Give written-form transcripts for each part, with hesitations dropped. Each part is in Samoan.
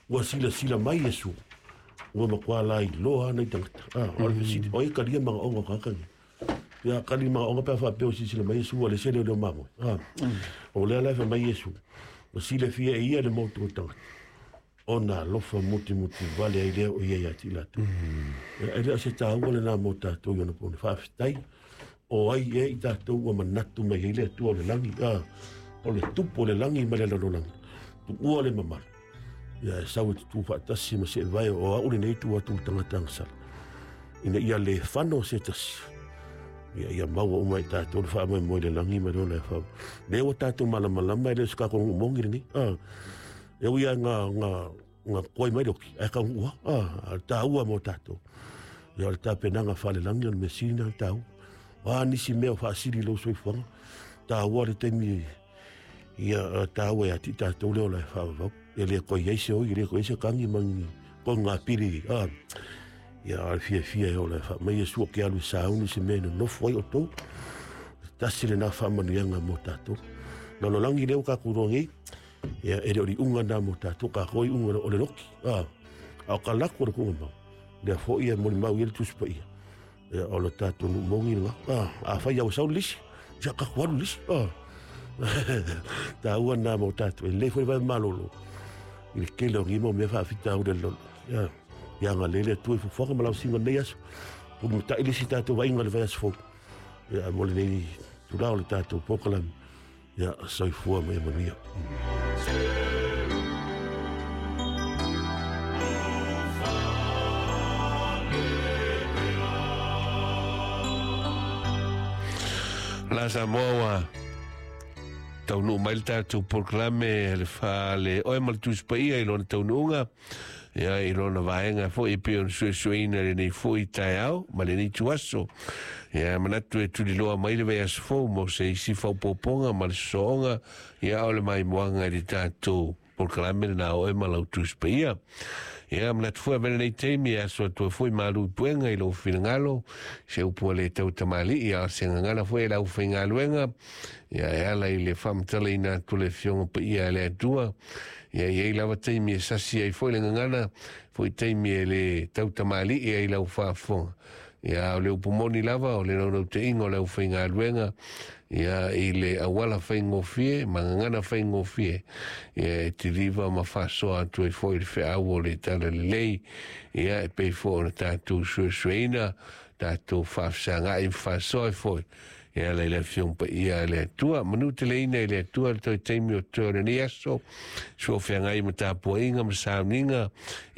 Ua silasila mai Iesu, ua matua lailoa lava nai tagata. O le fesili, o ai e talia manaoga o tagata nei? Ia tali manaoga pe a faapea ua silasila mai Iesu ua le se leoleo mamoe. O lea la e fai mai Iesu, ua silafia e ia le motu o tagata, ona alofa mutimuti vale ai lea o ia ia te i latou. E le o se taua lena mo tatou i ona pone. Faafetai, o ai ea i tatou ua manatu mai ai le Atua o le lagi, o le tupu o le lagi ma le lalolagi, tuua le mamalu. Ia e sau e tutū faatasi ma seevae o au lenei tu atu i tagata agasala. Ina ia le fano se tasi. Ia ia maua uma i tatou le faamoemoe i le lagi ma le ola e fau. Lea ua tatou malamalama e le o se kākou nuu mogi lenei. E ui lava nga koe mai le oki, ae taunuu lava. A o le taua mo tatou. Ia o le tapenaga faalelagi o le mea sili lena ona taua. O a nisi mea o faasili i lou soifuaga, taua le taimi ia taua ia te i tatou le ola e faavavau. E le toe i ai se oi, e le toe i ai se tagi ma ni koga pili. Ia a o le fiafia e ola e faa mai Iesu o ke alu e sauni se mea e nonofo ai outou. Tasi lena faamanuiaga mo tatou. Lalolagi lea ua tatou iloa nei, ia e le o le iuga lena mo tatou, tatou e iuga o le loki. A o ka lako o le tuugamau, lea foi e molimau i ai le Tusi Paia. Ia o le tatou nuu mogi lena. Afai lava ua sau le lisi, ia tatou alu i le lisi. Taua lena mo tatou. E lelei foi le vae malolo i le tele o nei mau mea faafitauli a le lalolagi. Ia agalelei le Atua i fuafuaga ma lausiga o lenei aso. Mulimutai le isi tatou vaaiga i le vaiaso fou. Ia mo lenei itula o le tatou polokalame. Ia soifua ma ia manuia. La Samoa ua taunuu mai le tatou polokalame le fale oe ma le Tusi Paia i lona taunuuga. Ia, i lona vaega foi e pei ona suesueina i lenei foi taeao ma lenei ituaso. Ia, manatu e tuliloa mai le vaiaso fou mo se isi faaopoopoga ma le sosooga, ia, o le maimoaga i le tatou polokalame lena oe ma lau Tusi Paia. Ia, manatu foi avea lenei taimi e aso atu ai foi malu i puega i lou finagalo, se upu a le tau tamalii, a o se gagana foi a le aufaigaluega, ia, e ala i le faamatalaina atu o le Afioga Paia a le Atua. Ia i ai lava taimi e sasi ai foi le gagana, foi taimi e le tautamalii ai lau faafofoga. Ia, o le upu moni lava, o le naunautaiga o le aufaigaluega, ia, i le auala faigofie ma gagana faigofie, ia, e tiliva ma faasoa atu ai foi le feau o le Talalelei, ia, e pei foi ona tatou suesueina, tatou faafesagai ma faasoa ai foi E ala i le Afioga Paia a le Atua. Manu teleina i le Atua le toe taimi o totoe o lenei aso, sua feagai ma tapuaiga ma sauniga,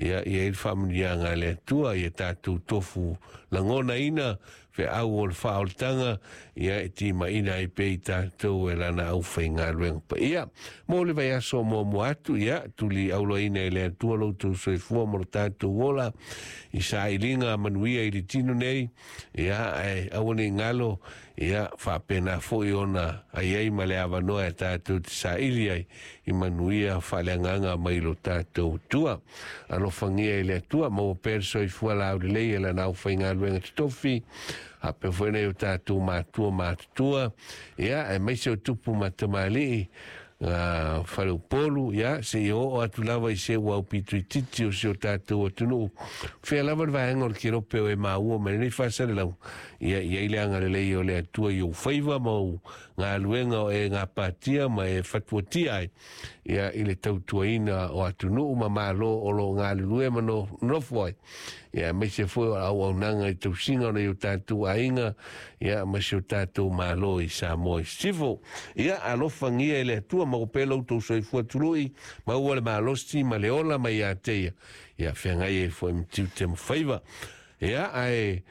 ia i ai le faamanuiaga a le Atua, ia tatou tofu lagonaina feau o le faaolataga, ia e timaina ai pea i tatou e lana aufaigaluega paia. Mo le vaiaso o muamua atu, ia tuli auloaina e le Atua lo outou soifua ma lo tatou ola i sailiga manuia i le tino nei, Ia, ae aua ne i galo, ia, faapena foi ona ai ai ma le avanoa e tatou te saili ai i manuia faaleagaga mai lo tatou Atua. Alofagia e le Atua, maua pea le soifua laulelei e lana aufaigaluega totofi, faapea foi nai o tatou matua matutua, ia, aemaise o tupu ma tamalii, Faleupolu, ia, seia oo atu lava i se ua aupito itiiti o si o tatou atunuu. Fea lava le vaega o le kelope o e maua mai lenei faasalelau, ia, i ai le agalelei o le Atua i ou faiva ma ou galuega o e gapatia ma e fatuatia ai, ia, i le tautuaina o atunuu ma Malo o lo o galulue ma nofo ai. Ia, aemaise foi o auaunaga i tausiga o nai o tatou aiga, ia, ma si o tatou Malo i Samoa i Sisifo. Ia, alofagia e le Atua, maua pea lo outou soifua tului, maua le malosi ma le ola mai ia te ia, ia feagai ai foi ma tiute ma faiva. Ia, ae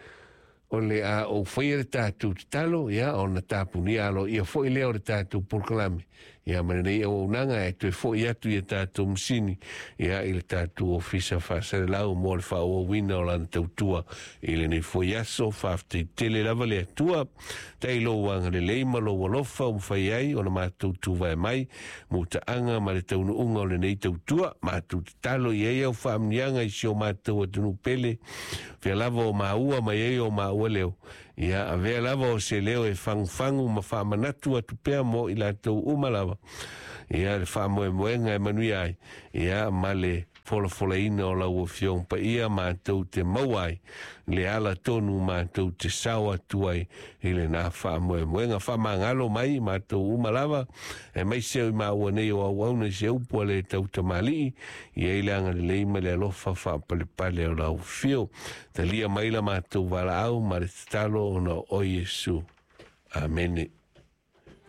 o le a ou faia le tatou tatalo, ia, ona tapunia aloaia foi lea o le tatou polokalame, ia, ma lenei auaunaga e toe foi atu i a tatou masini, ia, i le tatou ofisa faasalelau mo le faaauauina o lana tautua i lenei foi aso. Faafetai tele lava le Atua, tai lou agalelei ma lou alofa ua mafai ai ona matou tuvae mai mutaaga ma le taunuuga o lenei tautua. Matou tatalo i ai au faamanuiaga i si o matou atunuu pele, fea lava o maua mai ai o maua leo, ia avea lava o se leo e fagufagu ma faamanatu atu pea mo i latou uma lava, ia le faamoemoega e manuia ai, ia ma le. folafolaina o lau Afioga Paia matou te maua ai le ala tonu matou te sao atu ai i lenā faamoemoega. Faamagalo mai matou uma lava, aemaise o i maua nei o auauna i se upu a le tautamalii, i ai le agalelei ma le alofa faapalepale o lau Afio. Talia mai la matou valaau ma le tatalo ona o Iesu. Amene.